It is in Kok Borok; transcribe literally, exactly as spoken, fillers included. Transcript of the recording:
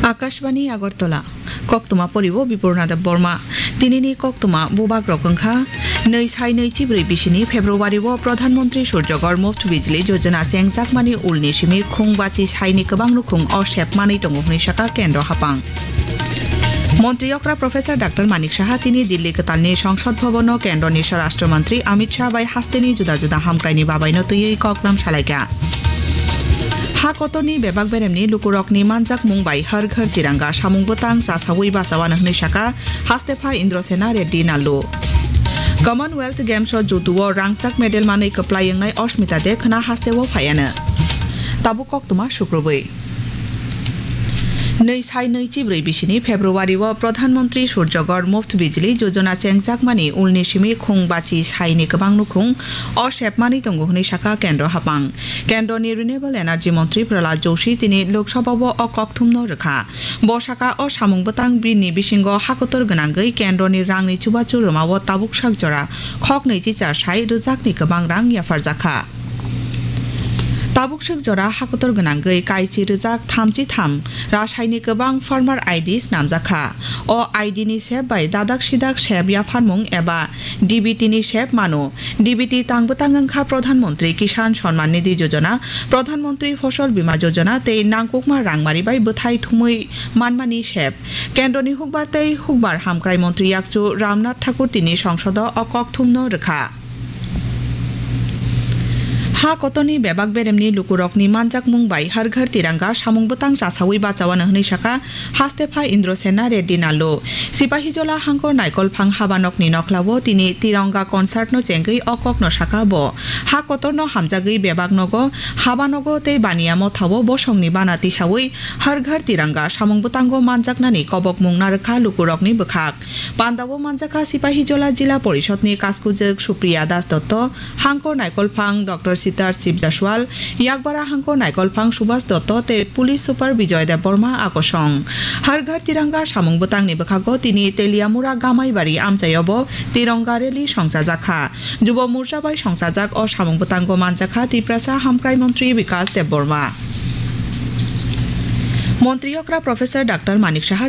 Akashbani Agartala, koktwma poribo Bipurna Deb Borma. Tinini koktwma bubagrok wngkha, nwi sai nwi chibrwi bisini February o Pradhan Mantri Surjagor Muft Bijli Yojana chengjakmani ulni simi khung bachi saini kwbang nukhung o sep manwi tongo hwnwi sakha Kendro Hapang. Montri okra Professor Doctor Manik Saha tini Delhi kwtalni Songsod Bhabono Kendroni Swarashtra Mantri Amit Shah bai hasteni juda juda hamkraini babaino twiwi koklam salaikha. Ha kotorni bebak beremni lukurokni manjakmung bai Har Ghar Tiranga samung bwtang chasawi bachawano hwnwi sakha hastepha Indrasena Reddy Nallu. Commonwealth Games o judo o rangchak medal manwi kwplai wngnai Ashmita De khwna hasteo phaiano. Tabuk koktwma sukrubwi. Nwi sai nwi chibrwi bisini February o Pradhan Mantri Surjagor Muft Bijli Yojana chengjakmani ulni simi khung bachi saini kwbang nukhung o sepmani tongo hwnwi sakha Kendro Hapang. Kendroni Renewable Energy Montri Prahlad Joshi tini Lok Sabha o o kokthumno rwkha. Bo sakha o samung bwtang bini bisingo hakotor gwnangwi Kendroni rangni chubachu rwmao tabuk sak jora khok nwichi char sai rwjakni kwbang rang yapharjakha. Tabuk swk jora hakotor gwnangwi kaichi rwjak thamchi tham rasaini kwbang farmer I D snamjakha. O I D ni sep bai dadak sidak sep yapharmung eba D B T ni sep mano. D B T tang bwtang wngkha Pradhan Mantri Kisan Samman Nidhi Yojana, Pradhan Mantri Fasal Bima Yojana tei nangkukma rangmari bai bwthai thumwi manmani sep. Kendroni hukbar tei hukbar hamkrai montri yakchu Ramnath Thakur tini songsodo o kokthumno rwkha. Ha kotorni bebak beremni lukurokni manjakmung bai Har Ghar Tiranga samung bwtang chasawi bachawano hwnwi sakha hastepha Indrasena Reddy Nallu. Sipahijola Hangkor Naikolphang habanokni noklao tini Tiranga concertno chengwi o kokno sakha bo. Ha kotorno hamjagwi bebak nogo, habanogo tei baniya mothao bosongni bana tisawi Har Ghar Tiranga samung bwtango manjaknani kobokmung narwkha lukurokni bwkhak. Pandao manjakha Sipahijola Jila Porishodni kaskujwk Supriya Das Dotto, Hangkor Naikolphang Doctor Sitar Sib Jaswal, Yakbara Hangkor Naikolphang Subhas Dotto tei Police Super Bijoy Debbarma akosong. Har Ghar Tiranga samung bwtangni bwkhago tini Teliamura Gamaibari amchaiobo Tiranga Rally songchajakha. Jubo Morcha bai songchajak o samung bwtango manjakha Tiprasa Hamkrai Montri Bikas Debbarma. Montri okra Professor Doctor Manik Saha